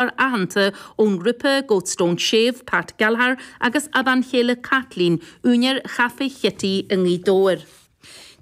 Aitheanta ón ngrúpa Goats Don't Shave, Pat Gallagher, agus a bhean chéile Kathleen, úinéir Chaifé Chití i nGaoth Dobhair.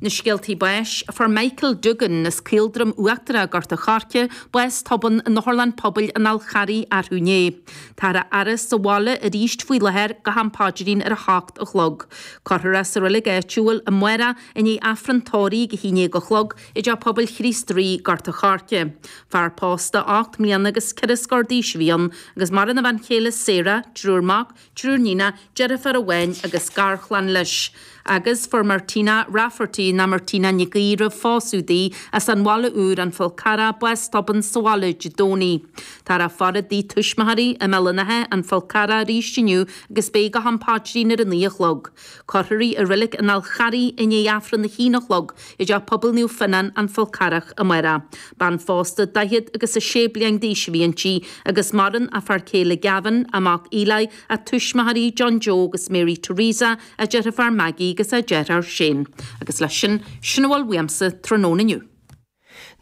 Na scéaltaí báis, Fuair Michael Duggan as Caoldroim Uachtarach, Gort a' Choirce, bás tobann in Otharlann Pobail an Fhál Charraigh arú inné. Táthar á fhaire sa bhaile arís faoi láthair go ham paidrín ar a hocht a chlog. Cuirfear é sa reilig áitiúil amárach i ndiaidh Aifreann tórraimh ag a haon déag a chlog i dTeach Pobail Chríost Rí, Gort a' Choirce. Fear pósta 8 mbliana agus ceithre scór d'aois a bhí ann agus maireann a bhean chéile Sarah, triúr mac, triúr níonach, deirfiúr amháin agus garchlann leis. Agus fuair Martina Rafferty ná Martina Nic Aoidh roimh phósadh di, as an Bhaile Úr, An Fál Carrach, bás tobann sa bhaile Dé Domhnaigh. Táthar á faire i dtigh tuismitheoirí i mBéal an Átha, An Fál Carrach arís inniu agus beidh go ham paidrín ar a 9 a chlog. Cuirfear í i Reilig an Fháil Charraigh i ndiaidh Aifreann a haon a chlog i dTeach Pobail Naomh Fionnán, An Fál Carrach, amárach. Bean phósta 46 agus bliain d'aois a bhí inti agus maireann a fear céile Gavin, a mac Eli, a tuismitheoirí John Joe agus Mary Teresa, a deirfiúr Maggie agus a deartháir Shane. Agus leis sin, sin a bhfuil uaimse tráthnóna inniu.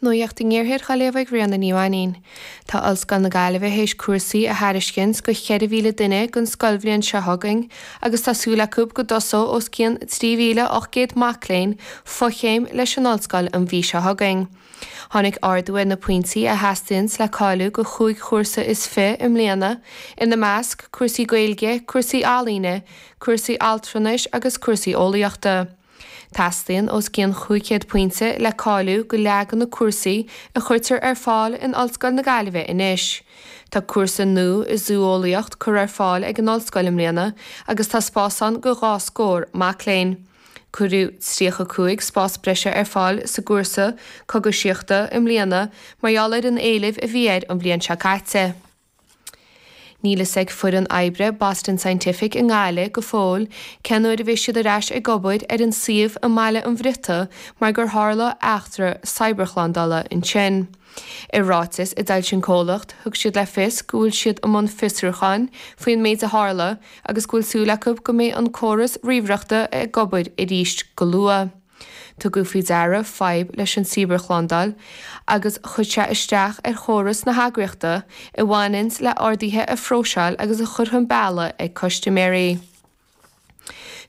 Nuacht an Iarthair á léamh ag Ríona Ní Mhainín. Tá Ollscoil na Gaillimhe théis cúrsaí a thairiscint go 4,000 duine don scoilbhliain seo chugainn agus tá súil acu go dtosóidh os cionn 3,800 mac léinn fochéim leis an ollscoil an mhí seo chugainn. Tháinig ardú ar na pointí a theastaíonns le cáiliú go chúig chúrsa is fi i mbliana, ina measc, cúrsaí Gaeilge, cúrsaí ealaíne, cúrsaí altranais agus cúrsaí eolaíochta. Teastaíonn os cionn 500 pointe le cáiliú go leath de na cúrsaí a chuirtear ar fáil in Ollscoil na Gaillimhe anois. Tá cúrsa nua i Zú-eolaíocht curtha ar fáil ag an ollscoil i mbliana agus tá spás ann go dhá scór mac léinn. Cuireadh 35 spás breise ar fáil sa gcúrsa Cogaisíochta i mbliana mar gheall ar an éileamh a bhí air an bhliain seo caite. Níl fhios ag foireann oibre Boston Scientific i nGaillimh go fóill cén uair a bheidh siad ar ais ag obair ar an suíomh i mBaile an Bhriotaigh mar gur tharla eachtra cybershlándála ansin. I ráiteas a d'fhoilsigh an comhlacht, thug siad le fios go bhfuil siad i mbun fiosrúcháin faoin méid a tharla agus go bhfuil súil acu go mbeidh an córas ríomhaireachta ag obair arís go luath. Tugadh faoi deara fadhb leis an cibearshlándáil agus chuir sé isteach ar chóras na heagraíochta a bhaineanns le orduithe a phróiseáil agus a chur chun bealaigh ag custaiméirí.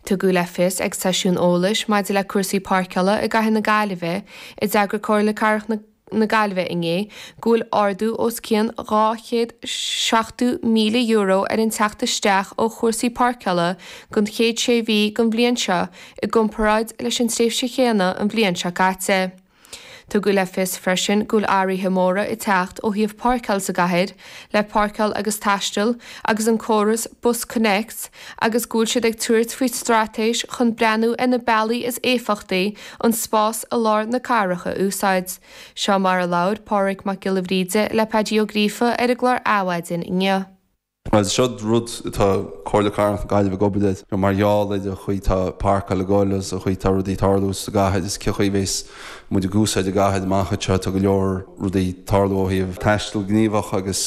Tugadh le fios ag seisiún eolais maidir le cúrsaí páirceála i gcathair na Gaillimhe a d'eagraigh Comhairle Cathrach na na Gaillimhe inné go bhfuil ardú os cionn €270,000 ar an teacht isteach ó chúrsaí páirceála don chéad sé mhí den bhliain seo i gcomparáid leis an tréimhse chéanna an bhliain seo caite. Tugadh le fios freisin go bhfuil athruithe móra ag teacht ó thaobh páirceáil sa gcathair, le Páirceáil agus Taisteal agus an córas BusConnects agus go bhfuil siad ag tabhairt faoi straitéis chun breathnú ar na bealaí is éifeachtaí an spás i lár na cathrach a úsáid. Seo mar a labhair Pádraig Mac Giolla Bhríde le Paidí Ó Gríofa ar an gclár Adhmhaidin inniu. Bhuel, seo rud atá Comhairle Cathrach na Gaillimhe ag obair air mar gheall ar an chaoi atá páirceáil ag goil agus an chaoi atá rudaí ag tarlú sa gcathair is cén chaoi a bheas muid ag úsáid an gcathair amach anseo. Tá go leor rudaí ag tarlú ó thaobh taisteal gníomhach agus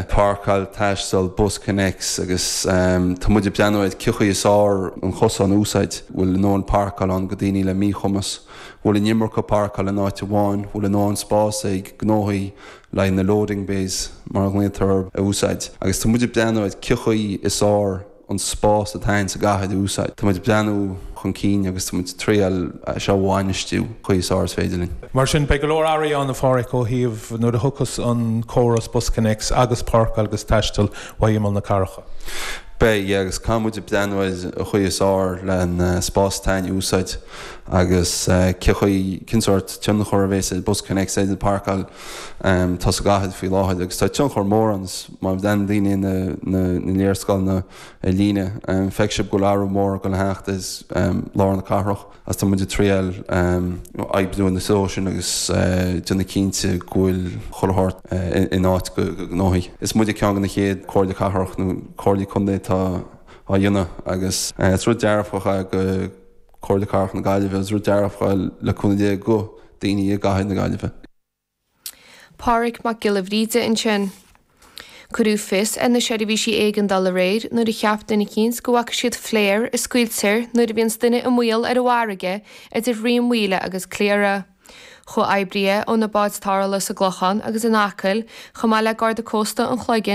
páirceáil, taisteal, BusConnects agus tá muid ag breathnú ar cén chaoi is fearr an cosán a úsáid. Bhfuil a ndóthain páirceáil ann go daoine le míchumas? Bhfuil an iomarca páirceáil in áit amháin? Bhfuil a ndóthain spás ag gnóthaí le haghaidh na loading bays mar a ghlaotar orthu a úsáid agus tá muid ag breathnú ar cén chaoi is fearr an spás atá ann sa gcathair a úsáid. Tá muid ag breathnú chun cinn agus tá muid ag triail é seo a bhainistiú chaoi is fearr is féidir linn. Mar sin, beidh go leor athruithe ann, a Pháraic, ó thaobh nuair a thiocfas an córas BusConnects agus Páirceáil agus Taisteal ó imeall na cathrach. Beidh, yeah, agus caithfidh muid ag breathnú ar an chaoi is fearr le an spás atá ann a úsáid agus cén chaoi, cén sórt tionchar a bhéas ag BusConnects ar an bpáirceáil atá sa gcathair faoi láthair agus tá tionchar mór ann má bhreathnaíonn daoine na léarscáileanna ar líne feicfidh sibh go bhfuil athrú mór ag dul a theacht ar lár na cathrach agus tá muid ag triail oibriú ina threo sin agus déanamh cinnte go bhfuil chuile shórt in áit go gnóthaí. Is muide ceann de na chéad comhairle cathrach nó comhairlí contae atá á dhéanamh agus is rud dearfach é go Comhairle Cathrach na Gaillimhe agus rud dearfach é le cúnamh Dé go daoine i gcathair na Gaillimhe. Pádraig Mac Giolla Bhríde ansin. Cuireadh fios ar na seirbhísí éigeandála aréir nuair a cheap duine eicínt go bhfaca siad flare a scaoiltear nuair a bhíonns duine i mbaol ar an bhfarraige idir Rinn Mhaoile agus Cliara. Chomhoibrithe ó na báid tarrthála sa gClochán agus in Acaill, chomh maith le Garda Cósta an Chloiginn.